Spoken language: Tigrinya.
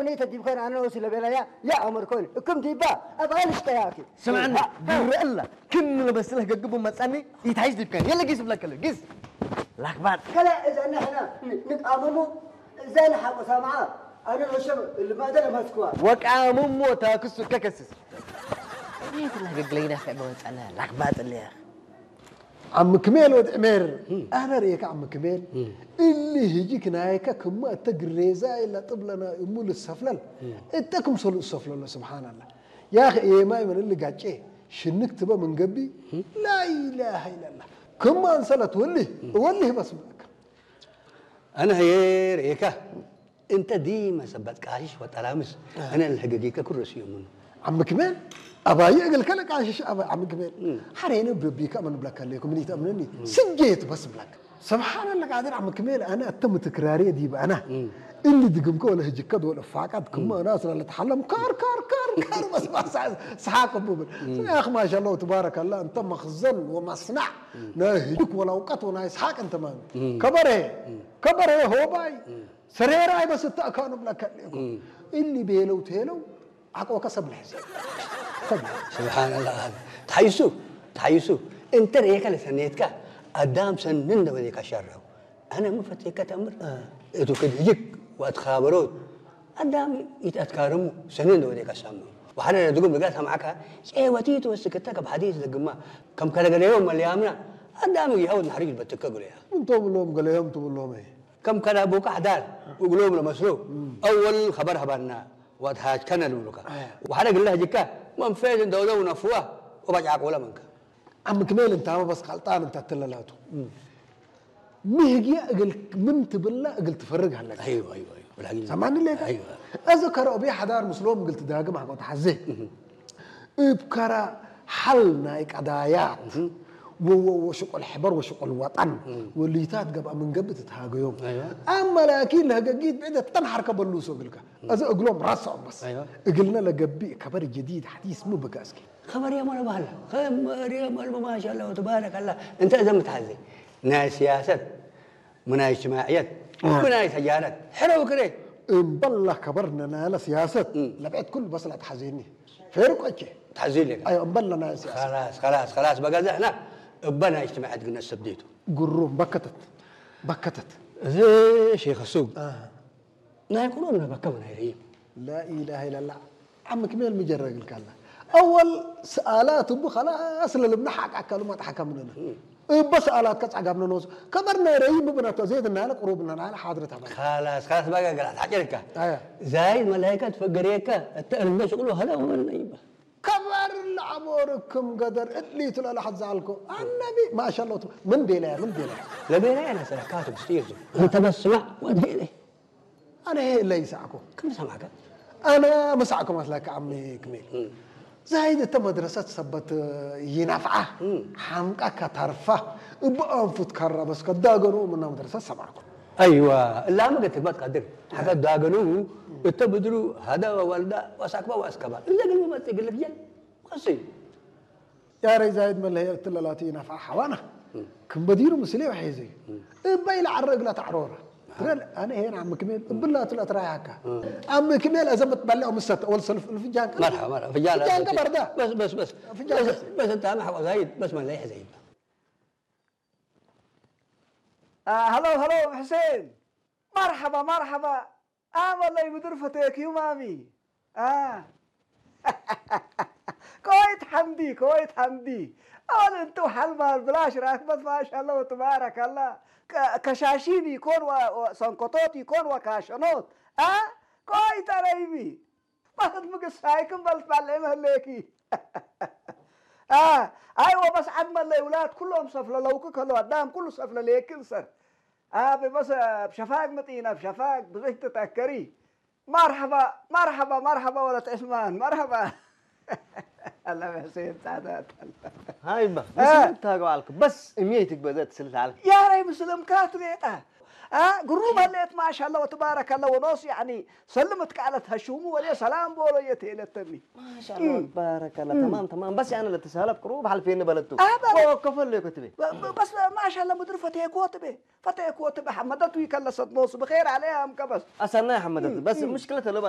እኔ ተዲብከን ኣነ ወሲ ለቤላያ ያ ኣመር ኮይን እክም ዲባ ኣብ ኣልሽ ጠያቂ። ስምዕኒ፣ ግረአላ። ክም ለበስለህ ገግቡ መጻኒ ይታይሽ ዲብከን። የለ ጊስ ብለከለ፣ ጊስ። ላክባጥ። ከላ እዛ ንሕና ንቃመሞ፣ እዛ ንሓቆ ሳምዓ፣ ኣነ ወሸም ልማደ ለማስኩዋ። ወቃመሞ ታክሱ ከከስስ። እኔ ትለህ ገግለይና ከ መጻና ላክባጥ ለያ። ዓሚ ክሜል ወድ ዕሜር፣ ኣነ ርእየካ ዓሚ ክሜል፣ እሊ ህጂ ክናይካ ክማ እተ ግሬዛ ኢላ ጥብለና እሙ ልሰፍለል፣ እተ ክምሰሉ እሰፍለሎ፣ ስብሓንላ። ያኽ ኤማይ መን እሊ ጋጬ፣ ሽንክ ትበ ምን ገቢ፣ ላኢላሃ ኢላላ። ክማ እንሰለት ወልህ፣ ወልህ በስ ብለካ። ኣነ ህየ ርእየካ፣ እንተ ዲመ ሰበት ቃሽሽ ወጠራምስ፣ ኣነ ልሕገጊከ ኩረስ እዮምኑ። ዓሚ ክሜል፣ ኣባይ እግል ከለ ቃሽሽ ኣባይ ዓሚ ክሜል። ሓሬነ ብረቢካ መን ብለካ ኣለኩ፣ ምን ይተእምነኒ? ስጌት በስ ብለካ። ስብሓንላ ቃድር ዓሚ ክሜል፣ ኣነ ኣተ ምትክራሪ ዲብ ኣና። እሊ ድግምከ ወለ ህጅከ ዶል እፋቃት ክመ ኣና ስለ ለተሓለም ካር፣ ካር፣ ካር፣ ካር በስ በስ ሰሓቅ ብብል። ያኽ ማሻላ ወትባረከላ፣ እንተ መኽዘን ወመስናዕ ናይ ህጅክ ወላ እውቀት ወናይ ሰሓቅ እንተ ማን። ከበረ፣ ከበረ ሆባይ። ሰሬራይ በስ እተእካኑ ብለካ እኮ። እሊ ቤለው ቴለው ዓቆከ ሰብ ልሕዝ። ሰብ ልሕዝ። ስብሓንላ። ተሓይሱ፣ ተሓይሱ። እንተ ርእየካ ለሰኔትካ ኣዳም ሰንን ደበኔካ ሻራው። ኣነ ምን ፈቴካ ተምር። እቱ ክድህጅክ ወኣትኻበሮት ኣዳም ይትኣትካርሙ ሰንን ደበኔካ ሳሙ። ወሓደ ነድጉም ልጋ ሰማዕካ ጼወቲ ትወስክተ ከም ሓዲስ ደግማ ከም ከለገለዮ መልያምና ኣዳም ይሃው ናሕሪጅ በትከ ጉለያ። እንቶም ብሎም ገለዮም ትብሎም እየ። ከም ከዳ ቡቃ ኣሕዳር እግሎም ለመስሎ ኣወል ኸበር ሀባና ወትሃጅከነ ልብሉካ። ኣያ። ወሓደ ግለ ህጅካ መንፈዝ እንደውለው ነፍዋ ወባጭ ዓቆለ መንከ። ዓሚ ክሜል እንታመ በስ ቃልጣን እንታ ትለላቱ። ምህግያ እግል ምን ትብላ እግል ትፈርግ ሃለካ። ኣይወ፣ ኣይወ፣ ኣይወ። ብላጊ ሰማኒ ሌካ? ኣይወ። እዚ ከረኦ ብያ ሓዳር ምስሎም እግል ትዳግም ሓቆ ተሓዜ። እብ ከራ ሓል ናይ ቀዳያት ወ-፣ ወ-፣ ወሽቁል ሕበር ወሽቁል ወጠን ወልይታት ገብኣ ምን ገብእ ትትሃገዮም። ኣይዋ። ኣማ ላኪን ለህገጊት ብዕደ ተንሓርከ በሉ ሰው እግልካ። እዚ እግሎም ራስዖም በስ። ኣይዋ። እግልነ ለገቢእ ከበር ጀዲድ ሓዲስ ምን ብከ እስኪ። ከበር የመረ ባህላ። ከበር የመረ ማሻላ ወተባረከላ። እንተ እዘም ትሓዘ ናይ ስያሰት ምናይ እጅትማዕየት፣ እ። ምናይ ተጃረት፣ ሕረው ክሬ። እምበላ ከበርነ ናለ ስያሰት፣ እ። ለብዐት ኩሉ በስላ ተሓዜኒ። ፌርቆቼ። ተሓዜኒ። ኣዮ፣ እምበላ ናይ ስያሰት። ከላስ፣ ከላስ፣ ከላስ፣ በገዛ ሕና እበ ናይ እጅትማዕየት ግነ ሰብዴቱ። ግሩም፣ በከተት፣ በከተት። እዚ ሼኽ ሱብ። እ። ናይ ቁሩብ ነበከ ምናይ ረይም። ላኢላሃ ኢላላህ። ዓሚ ክሜል ምጀረግልካላ። ኣወል ሰኣላት እቡ ኸላስ ለልብና ሓቅ ኣካሉ ማጥሓካ ምንና። እበ ሰኣላትካ ጻጋብነ ንወስድ። ከበር ናይ ረይም ብብነቶ ዜድ እናለ ቁሩብ እናለ ሓድረት ኣባል። ኸላስ፣ ኸላስ፣ ባጋ ገላት ሓቂርካ። ኣያ። ዛይድ መላይካ ትፈገርየካ፣ እተ እልምደ ሽቅሉ ኸላ ወመን ነይባ። ከበር ለዓቦርክም ገደር እድሊቱ ለላሕት ዘኣልኮ። ኣነቢ ማሻላ ምን ቤላያ፣ ምን ቤላያ። ለቤላያ ነሰረካ ትብስጢር። እንተ በስማዕ ወድሄ ኣነ ለይሰዓኩ። ክም ሰማዕከ? ኣነ መሳዕኩም ኣስላከ ዓሚ ክሜል። ዛይድ እተ መድረሰት ሰበት ይናፍዓ፣ ሓምቃ ካታርፋ፣ እብ ኣንፉት ካራ በስ ከዳገኑ ምና መድረሰት ሰማዕኩ። ኣይዋ፣ እላመ ገትግባት ቃድር። ሓከ ዳገኑ እተ ብድሩ ሃዳ ወዋልዳ ወሳክባ ወኣስከባ። እዘ ግን መመጽእ ግልፍ ጀል። ቀስይ። ያረይ ዛይድ መለሀ እትለላቱ ይናፍዓ ሓዋና። ክም በዲሩ ምስሌ ወሒዙ። እበይ ለዓረ እግላ ተዕሮራ። ትረል፣ ኣነ ሄን ዓሚ ክሜል እብላቱ ለትራያካ። ዓሚ ክሜል እዘ ምትበልዖ ምሰተ ወል ሰልፍ ፍጃንካ። መርሓባ፣ መርሓባ። ፍጃን ፍጃንካ በርዳ። በስ፣ በስ፣ በስ። ፍጃንካ በስ፣ በስ፣ በስ፣ እንተ ኣነ ሓቆ ዛይድ፣ በስ መለይ ሕዘይባ። አ፣ ሃሎ፣ ሃሎ፣ ሕሴን። መርሓባ፣ መርሓባ። ኣመለይ ምድር ፈተየክዩ ማሚ። አ። ከወይት ሓምዲ፣ ከወይት ሓምዲ። ኣወል እንቱ ሓልማል ብላሽ ራክበት ማሻላ ወትባረካላ። ከ-፣ ከሻሺን ይኮን ወ-፣ ወ-፣ ሰንኮቶት ይኮን ወካሸኖት። አ? ከወይት ኣረይሚ። ማለት ምግሳይክም በልት ባለ መህለኪ። አ፣ ኣይ ወበስ ዓድ መለይ ውላት ኩሎም ሰፍለለውክ ከሎ ኣዳም ኩሉ ሰፍለለየክን ሰር። ኣብ በሰ፣ ኣብ ሸፋግ ምጥይና፣ ኣብ ሸፋግ ብዙሕ ትተከሪ። መርሐባ፣ መርሐባ፣ መርሐባ ወለት ዑስማን፣ መርሐባ። ኣላ በሰ የምጻዳት። ሃይባ፣ እ። ምስል ታገዋልክ፣ በስ እምየይ ትግበዘት ስልታል። ያረይ ምስልም ካት ሌጣ። አ፣ ግሩም ሀሌት ማሻላ ወተባረከላ ወኖስ ያኒ ሰልም ትቃለት ሀሹሙ ወደ ሰላም ቦሎ የተለተኒ። ማሻላ እም። ባረከላ። እም። ተማም፣ ተማም። በስ ያነ ለተሳለብ ቅሩብ ሐልፌን በለቱ። አ፣ በ- ወከፈል ለኮትቤ። በ-፣ በ-፣ በስ ማሻላ ምድር ፈቴ ኮትቤ። ፈቴ ኮትቤ ሐመደቱ ይከለሰት ኖስ ብኸይር አለያም ከበስ። አሰና ሐመደቱ። እም፣ በስ እም። ሙሽክለት ለባ